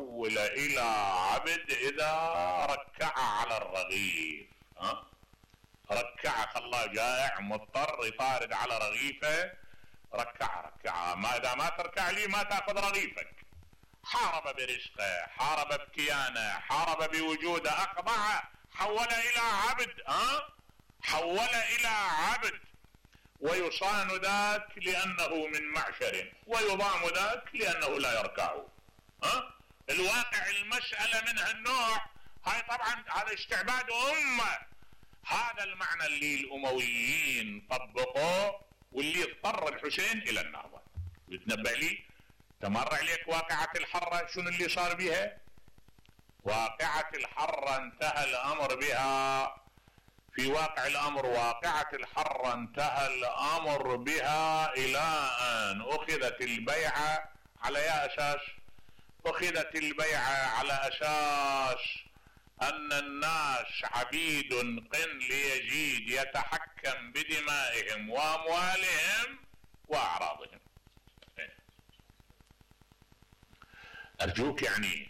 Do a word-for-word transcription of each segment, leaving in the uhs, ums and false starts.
يحول الى عبد اذا ركع على الرغيف. ها ركع، خلاه جائع مضطر يطارد على رغيفه، ركع ركع. ما اذا ما تركع لي ما تاخذ رغيفك. حارب برزقه، حارب بكيانه، حارب بوجوده، اخضع، حول الى عبد. ها حول الى عبد. ويصان ذاك لانه من معشر، ويضام ذاك لانه لا يركع. ها الواقع المسألة من هالنوع هاي طبعا هذا استعباد امة. هذا المعنى اللي الامويين طبقوه واللي اضطر الحسين الى النهضة. بتنبأ لي تمر عليك واقعة الحرة شنو اللي صار بها؟ واقعة الحرة انتهى الامر بها، في واقع الامر واقعة الحرة انتهى الامر بها الى ان اخذت البيعة على يا اساس؟ اخذت البيعة على اساس ان الناس عبيد قن ليزيد يتحكم بدمائهم واموالهم واعراضهم. ارجوك يعني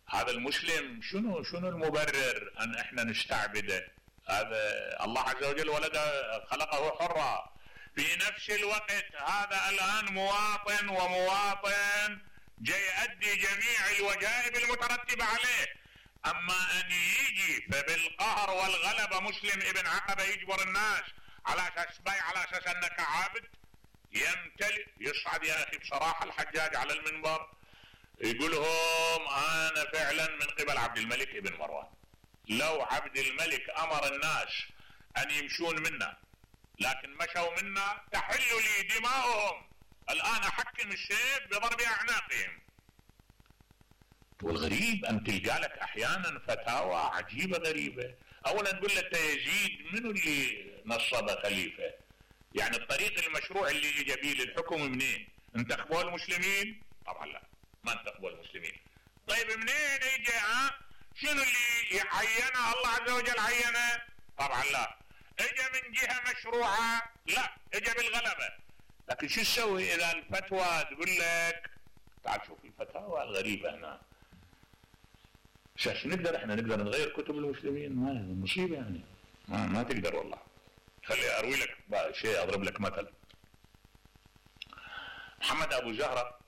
هذا المسلم شنو شنو المبرر ان احنا نستعبده؟ هذا الله عز وجل ولد خلقه حرا. في نفس الوقت هذا الان مواطن ومواطن جاي يؤدي جميع الوجائب المترتبة عليه. اما ان يجي فبالقهر والغلبة مسلم ابن عقبة يجبر الناس على اساس بيع، على اساس انك عابد، يمتلئ يصعد يا اخي بصراحة الحجاج على المنبر يقول لهم انا فعلا من قبل عبد الملك ابن مروان، لو عبد الملك امر الناس ان يمشون منا لكن مشوا منا تحل لي دماؤهم، الان احكم السيف بضرب اعناقهم. والغريب ان تلقى لك احيانا فتاوى عجيبة غريبة. اولا تقول لك يزيد منو اللي نصب خليفة؟ يعني الطريق المشروع اللي اجى بيه للحكم منين؟ انتخبوا المسلمين؟ طبعا لا، ما انتخبوا المسلمين. طيب منين اجى؟ ها شنو اللي عينه؟ الله عز وجل عينه؟ طبعا لا. اجى من جهة مشروعة؟ لا، اجى بالغلبة. لكن شو تسوي اذا الفتوى تقول لك تعال شوف الفتاوى الغريبة هنا. شو نقدر احنا نقدر نغير كتب المسلمين؟ ما مصيبة يعني، ما, ما تقدر والله. خلي اروي لك شيء، اضرب لك مثل. محمد ابو زهرة،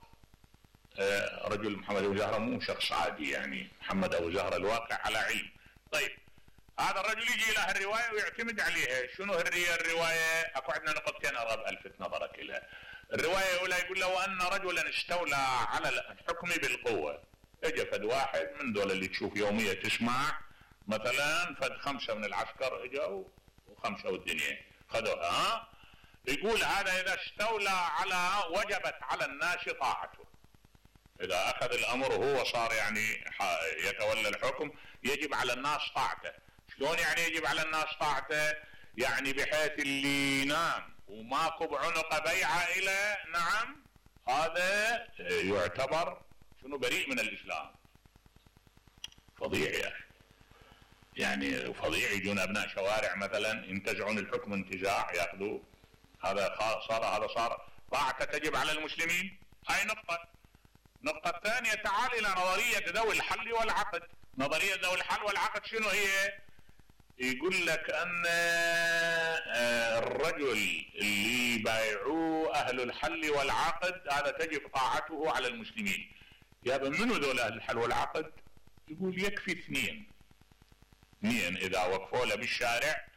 رجل محمد ابو زهرة مو شخص عادي يعني، محمد ابو زهرة الواقع على علم. طيب هذا الرجل يجي له الرواية ويعتمد عليها. شنو هي الرواية؟ اكو عندنا نقطتين ارغب الفت نظرك اليها. الرواية الاولى يقول له وان رجلا استولى على الحكم بالقوة. اجى فد واحد من دول اللي تشوف يومية تسمع مثلا فد خمسة من العسكر اجوا وخمسة والدنيا خذوها. ها يقول هذا اذا استولى على وجبت على الناس طاعته. اذا اخذ الامر هو صار يعني يتولى الحكم يجب على الناس طاعته. شلون يعني يجب على الناس طاعته؟ يعني بحيث اللي ينام وماكو بعنق بيعة الى نعم هذا يعتبر شنو بريء من الاسلام. فظيع يا اخي، يعني فظيع. يجون ابناء شوارع مثلا ينتزعون الحكم انتزاع ياخذوه، هذا صار هذا صار طاعته تجب على المسلمين. هاي نقطة. النقطة الثانية تعال الى نظرية ذوي الحل والعقد. نظرية ذوي الحل والعقد شنو هي؟ يقول لك ان الرجل اللي بايعوه اهل الحل والعقد هذا تجب طاعته على المسلمين. يا منو ذول اهل الحل والعقد؟ يقول يكفي اثنين. اثنين اذا وقفوا له بالشارع،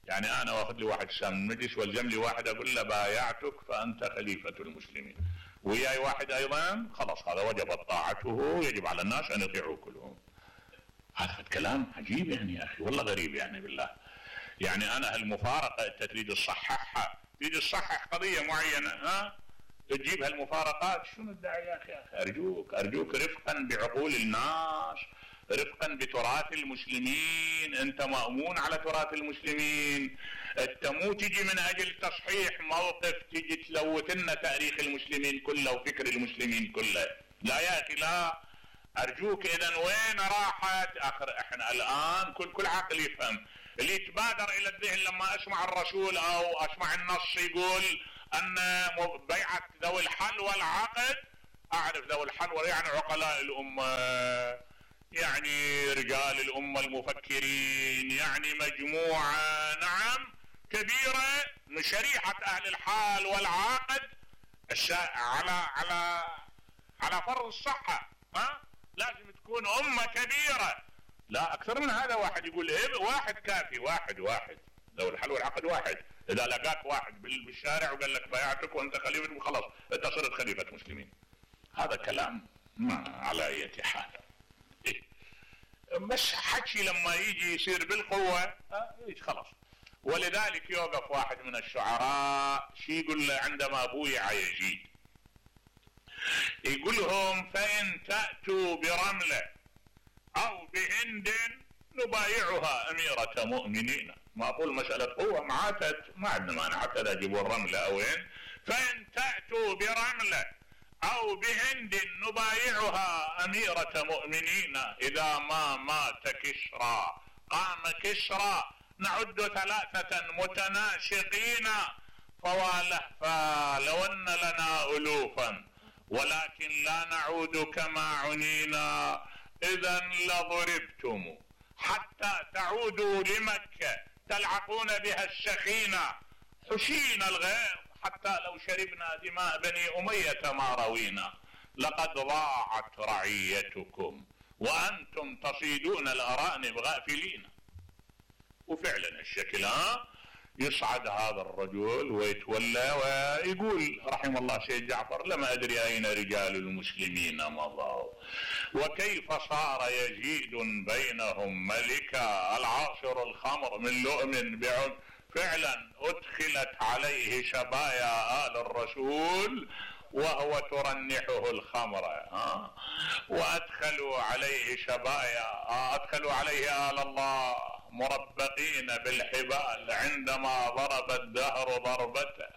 يعني انا واخذ لي واحد سام المجلس والزم لي واحد اقول له بايعتك فانت خليفة المسلمين، وياي واحد ايضا، خلاص هذا وجبت طاعته، يجب على الناس ان يطيعوا كلهم. هذا كلام عجيب يعني يا اخي، والله غريب يعني بالله. يعني انا هالمفارقة انت تريد تصححها، تريد تصحح قضية معينة، ها تجيب هالمفارقات، شنو الداعي يا اخي؟ ارجوك ارجوك رفقا بعقول الناس، رفقا بتراث المسلمين. انت مأمون على تراث المسلمين، انت مو تجي من اجل تصحيح موقف تجي تلوث لنا تاريخ المسلمين كله وفكر المسلمين كله. لا يا اخي لا، ارجوك. اذا وين راحت اخر؟ احنا الان كل كل عقل يفهم. اللي يتبادر الى الذهن لما اسمع الرسول او اسمع النص يقول ان بيعة ذوي الحل والعقد اعرف ذوي الحلوى يعني عقلاء الامة، يعني رجال الامة المفكرين، يعني مجموعة نعم كبيرة من شريحة اهل الحال والعقد على على على فرض الصحة. ها لازم تكون امة كبيرة، لا اكثر من هذا. واحد يقول ايه واحد كافي، واحد واحد ذوي الحل والعقد واحد. اذا لقاك واحد بالشارع وقال لك بايعتك وانت خليفة وخلاص انت صرت خليفة مسلمين، هذا كلام ما على اي حال. إيه؟ بس حكي لما يجي يصير بالقوة اه خلاص. ولذلك يوقف واحد من الشعراء شي يقول له عندما بويع يزيد، يقول لهم فإن تأتوا برملة أو بهند نبايعها أميرة مؤمنين. ما أقول مسألة قوة معاتت ما عندنا مانع حتى لا يجيبوا الرملة أو وين. فإن تأتوا برملة أو بهند نبايعها أميرة مؤمنين، إذا ما مات كسرى قام كسرى نعد ثلاثة متناشقين، فوالهفا لو أن لنا ألوفا ولكن لا نعود كما عنينا، إذا لضربتم حتى تعودوا لمكة تلعقون بها السخينة، حشين الغيظ حتى لو شربنا دماء بني أمية ما روينا، لقد ضاعت رعيتكم وأنتم تصيدون الأرانب غافلين. وفعلا الشكل ها يصعد هذا الرجل ويتولى ويقول رحم الله سيد جعفر لما أدري أين رجال المسلمين مضوا وكيف صار يزيد بينهم ملكا، العاصر الخمر من لؤم بعد. فعلا أدخلت عليه شبايا آل الرسول وهو ترنحه الخمر، ها وأدخلوا عليه شبايا، أدخلوا عليه آل الله مربقين بالحبال عندما ضرب الدهر ضربته.